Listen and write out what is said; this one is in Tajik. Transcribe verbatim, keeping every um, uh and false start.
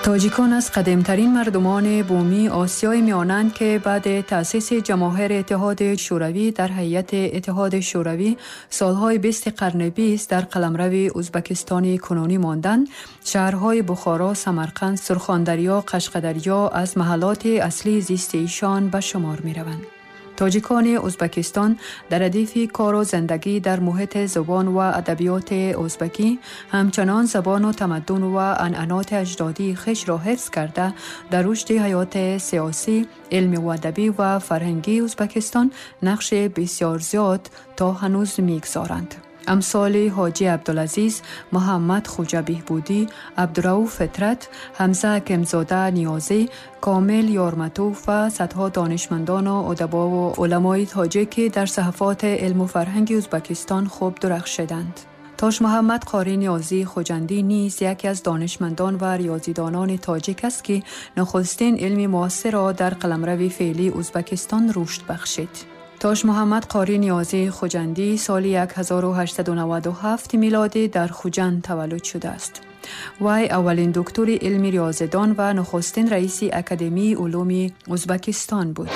Тоҷикон аз қадимтарин мардумони бумии Осиёи Миёнанд, ки баъди таъсиси Ҷамоҳири Иттиҳоди Шӯравӣ дар ҳайати Иттиҳоди Шӯравӣ солҳои бисти қарни бист дар қаламрави Ӯзбекистони кунунӣ монданд. Шаҳрҳои Бухоро, Самарқанд, Сурхондарё, Қашқадарё аз маҳаллоти аслии зисти ишон ба шумор мераванд. Тоҷикони Ӯзбекистон дар радифи кору зиндагӣ дар муҳити забон ва адабиёти ӯзбекӣ ҳамчунон забону тамаддун ва анъаноти аҷдодии хешро ҳифз карда, дар рушди ҳаёти сиёсӣ, илмиву адабӣ ва фарҳангии Ӯзбекистон нақши бисёр зиёд то ҳанӯз мегузоранд. Амсоли Ҳоҷӣ Абдулазиз, Муҳаммад Хуҷа Беҳбудӣ, Абдурауф Фитрат, Ҳамза Ҳакимзода Ниёзӣ, Комил Ёрматов ва садҳо донишмандону удабову уламои тоҷик, ки дар саҳифоти илму фарҳанги Ӯзбекистон хуб дурахшиданд. Тоҷмуҳаммад Қори Ниёзӣ Хуҷандӣ низ яке аз донишмандон ва риёзидонони тоҷик аст, ки нахустин илми муосирро дар қаламрави феълии Ӯзбекистон рушд бахшид. Тоҷмуҳаммад Қори Ниёзӣ Хуҷандӣ соли ҳазору ҳаштсаду наваду ҳафт милодӣ дар Хуҷанд таваллуд шудааст. Вай аввалин доктори илми риёзидон ва нахустин раиси Академияи улуми Ӯзбекистон буд.